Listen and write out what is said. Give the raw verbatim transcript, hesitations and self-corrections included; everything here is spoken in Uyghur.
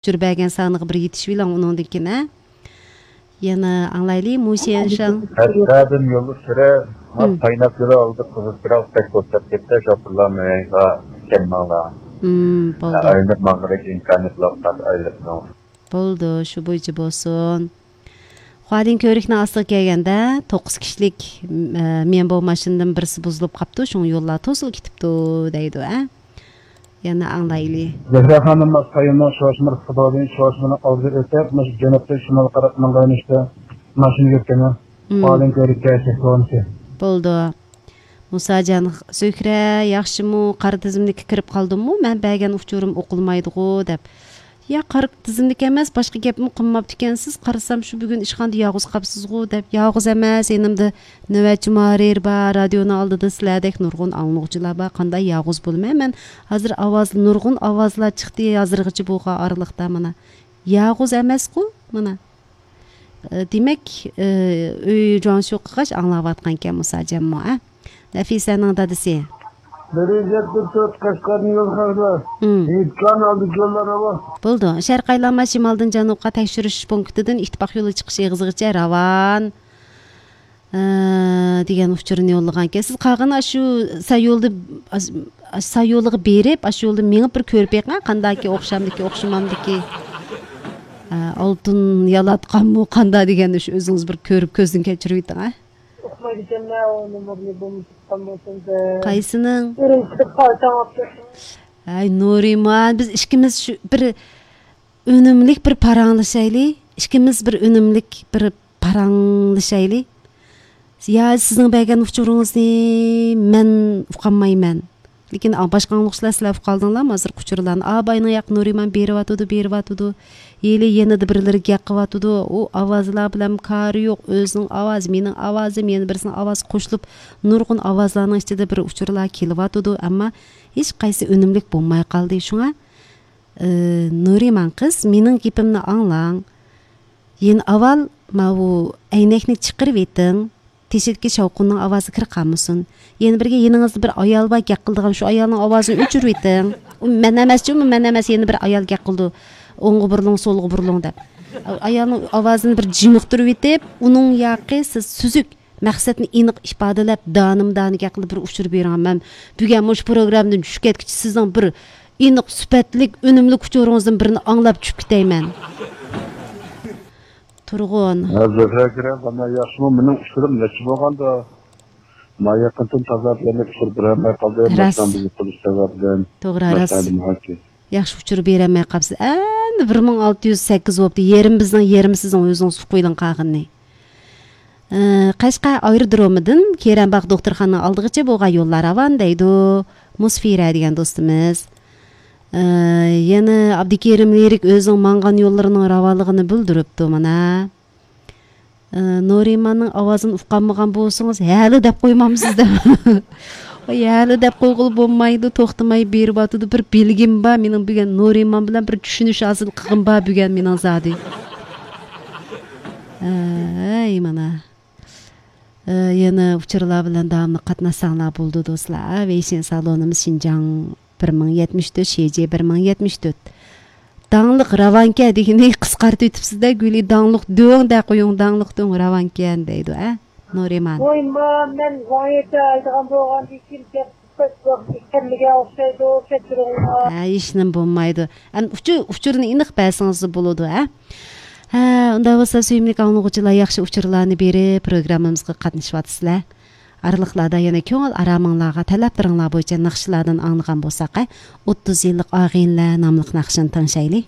ئۇچۇر بەرگەن سانىغا بىر يېتىشىۋېلىڭ ئۇنىڭدىن كېيىن، ھە؟ يەنە ئاڭلايلى، مۇشيەنشاڭ. ھەتتەدىن يولدىشىرە، مم. قايناپ يۈرە ئالدى قىزىل پىراق بەك بوشاپ كەتتى، شوپۇرلار مېڭىغا كەلمەڭلار. مم، بولدى. ئايلىنىپ ماڭغۇدەك ئىمكانىيەت يوق، ئايلىنىپ ماڭ. بولدى، شۇ بويىچە بولسۇن. خۇالىن كۆۋرۈكنىڭ ئاستىغا كەلگەندە، توققۇز كىشىلىك، ئە، مېنبو ماشىنىدىن بىرسى بۇزۇلۇپ قاپتۇ، شۇڭا يوللار توسۇلۇپ كېتىپتۇ، دەيدۇ، ھە؟ يەنە ئاڭلايلى. زەھرا خانىم، ئاستايىننىڭ شوشمىرىسى بار، شوشمىنىڭ ئالدىدا ئۆتۈپ، مۇشۇ جەنۇبتىن شىمالغا قاراپ ماڭغان يۆنىلىشتە ماشىنا كەتكەن. مم. خۇالىن كۆۋرۈككە چەكلىۋالمىسى. بولدى. مۇساجان، زۆھرە، ياخشىمۇ؟ قارا تىزىملىككە كىرىپ قالدىممۇ؟ مەن بەرگەن ئۇچۇرۇم ئوقۇلمايدىغۇ، دەپ. يا، قارا تىزىملىك ئەمەس، باشقا گەپمۇ قىلماپتىكەنسىز. قارىسام، شۇ بۈگۈن ئىشخانىدا يالغۇز قاپسىزغۇ، دەپ. يالغۇز ئەمەس، يېنىمدا نۆۋەتچى مۇھەررىر بار، رادىيونىڭ ئالدىدا سىلەردەك نۇرغۇن ئاڭلىغۇچىلار بار. قانداق يالغۇز بولىمەن مەن؟ ھازىر ئاۋاز، نۇرغۇن ئاۋازلار چىقتى ھازىرغىچە بولغان ئارىلىقتا مانا. يالغۇز ئەمەسقۇ، مانا. ئى، دېمەك، ئى، ئۆي جۇاڭشۇ قىلغاچ ئاڭلاۋاتقانكەن مۇساجانمۇ، ئە؟ نەفىسەنىڭ دادىسى. بىر يۈز يەتمىش تۆت قەشقەردىن يول خەقلەر. مم. ھېيتكان ئالدى يوللار راۋان. بولدى. شەرقىي ئايلانما شىمالدىن جەنۇبقا تەكشۈرۈش پونكىتىدىن ئىتتىپاق يولى چىقىش ئېغىزىغىچە راۋان. ئە، دېگەن ئۇچۇرنى يوللىغانكەن. سىز قالغىنى ئاشۇ ساييولدا، ئاش-، ئاش-، ساييولىغا بېرىپ، ئاشۇ يولدا مېڭىپ بىر كۆرۈپ بېقىڭ، قانداكى ئوخشامدىكى، ئوخشىمامدىكى. ئە، ئالتۇن يالاتقانمۇ، قاندا دېگەننى شۇ ئۆزىڭىز بىر كۆرۈپ، كۆزدىن كەچۈرۈۋېتىڭ، ئە. ئۇقمايدىكەنمەن، ئۇ نومۇرنى بولمىسا تۇتقان بولسام دەپ. قايسىنىڭ؟ ئۈرۈمچىدە پارتاڭ ئاپ كەتتىم. ھەي، نۇرىمان، بىز ئىككىمىز شۇ بىر ئۈنۈملۈك بىر پاراڭلىشايلى. ئىككىمىز بىر ئۈنۈملۈك بىر پاراڭلىشايلى. يا سىزنىڭ بەرگەن ئۇچۇرىڭىزنى مەن ئۇقالمايمەن. لېكىن، ئا، باشقا ئاڭلىغۇچىلار سىلەر ئۇقالدىڭلارمۇ ھازىرقى ئۇچۇرلارنى؟ ئا، باينىڭ ياق نۇرىمان بېرىۋاتىدۇ، بېرىۋاتىدۇ. ھېلى يېنىدا بىرلىرى گەپ قىلىۋاتىدۇ. ئۇ ئاۋازلار بىلەن كارى يوق. ئۆزىنىڭ ئاۋازى، مېنىڭ ئاۋازىم، يەنە بىرسىنىڭ ئاۋازى قوشۇلۇپ، نۇرغۇن ئاۋازلارنىڭ ئىچىدە بىر ئۇچۇرلار كېلىۋاتىدۇ. ئەمما ھېچقايسى ئۈنۈملۈك بولماي قالدى. شۇڭا، ئى، نۇرىمان قىز، مېنىڭ گېپىمنى ئاڭلاڭ. يەنە ئاۋۋال ماۋۇ ئەينەكنى چىقىرىۋېتىڭ. تېشىدىكى شاۋقۇننىڭ ئاۋازى كىرىپ قالمىسۇن. يەنە بىرگە يېنىڭىزدا بىر ئايال بار گەپ قىلىدىغان، شۇ ئايالنىڭ ئاۋازىنى ئۆچۈرۈۋېتىڭ. ئۇ مەن ئەمەسچۇ، ئۇ مەن ئەمەس، يەنە بىر ئايال گەپ قىلىدۇ. ئوڭغا بۇرۇلۇڭ، سولغا بۇرۇلۇڭ دەپ. ئايالنىڭ ئاۋازىنى بىر جىمىقتۇرۇۋېتىپ، ئۇنىڭ ياقى سىز سۈزۈك مەقسەتنى ئېنىق ئىپادىلەپ، دانىمۇ دانە گەپ قىلىپ بىر ئۇچۇر بېرىڭ. مەن بۈگۈن مۇشۇ پروگراممىدىن چۈشۈپ كەتكۈچە سىزنىڭ بىر ئېنىق، سۈپەتلىك، ئۈنۈملۈك ئۇچۇرىڭىزدىن بىرنى ئاڭلاپ چۈشۈپ كېتەيمەن. تۇرغۇن. ھە، زۆھرە ئاكا، قانداق، ياخشىمۇ؟ مېنىڭ ئۇچۇرۇم نەچچە بولغاندا؟ ما يېقىندىن تازا بىلەن ئۇچۇر بېرەلمەي قالدىم. راست. ماشىنا بۇزۇپ قېلىش سەۋەبىدىن. توغرا، راست. ماشىنا ھاكى. ياخشى ئۇچۇر بېرەلمەي قاپسىز. ئەمدى بىر مىڭ ئالتە يۈز سەككىز بوپتۇ. يېرىم بىزنىڭ، يېرىمى سىزنىڭ، ئۆزىڭىز ئۇقۇۋېلىڭ قالغىنىنى. ئە، قەشقەر ئايرودرومىدىن كېرەنباغ دوختۇرخانىنىڭ ئالدىغىچە بولغان يوللار راۋان، دەيدۇ مۇسفىرە دېگەن دوستىمىز. ئە، يەنە ئابدۇكېرىم لىرىك ئۆزىنىڭ ماڭغان يوللىرىنىڭ راۋانلىقىنى بىلدۈرۈپتۇ مانا. ئە، نۇرىماننىڭ ئاۋازىنى ئۇقالمىغان بولسىڭىز، ھەلى دەپ قويمامسىز دەپ. ۋاي، ھەلى دەپ قويغىلى بولمايدۇ، توختىماي بېرىۋاتىدۇ. بىر بىلگۈم بار، مېنىڭ بۈگۈن نۇرىمان بىلەن بىر چۈشىنىش ھاسىل قىلغۇم بار بۈگۈن مېنىڭ زادى. ئەي، مانا. ئە، يەنە ئۇچۇرلار بىلەن داۋاملىق قاتناشساڭلار بولىدۇ، دوستلار. ۋېيشىن سالونىمىز شىنجاڭ بىر مىڭ يەتمىش تۆت، شىجى بىر مىڭ يەتمىش تۆت. داڭلىق راۋانكەن دېگىنى قىسقارتىۋېتىپسىز-دە، گۈلى. داڭلىق دۆڭ دە قويۇڭ، داڭلىق دۆڭ راۋانكەن دەيدۇ، ئە، نۇرىمان. ۋاي، ما، مەن ۋاڭيېتە ئايدىغان بولغاندىن كېيىن گەپ كەممىگەن ئوخشايدۇ، كەچۈرۈڭلار. ھە، ھېچنېمە بولمايدۇ. ئەمدى ئۇچۇ-، ئۇچۇرنى ئېنىق بەرسىڭىز بولىدۇ، ھە؟ ھە، ئۇنداق بولسا، سۆيۈملۈك ئاڭلىغۇچىلار، ياخشى ئۇچۇرلارنى بېرىپ، پروگراممىمىزغا قاتنىشىۋاتىسىلەر. ئارىلىقلاردا يەنە كۆڭۈل ئارامىڭلارغا، تەلەپلىرىڭلار بويىچە ناخشىلاردىن ئاڭلىغان بولساق، ھە، ئوتتۇز يىللىق ئاغىنىلەر ناملىق ناخشىنى تىڭشايلى.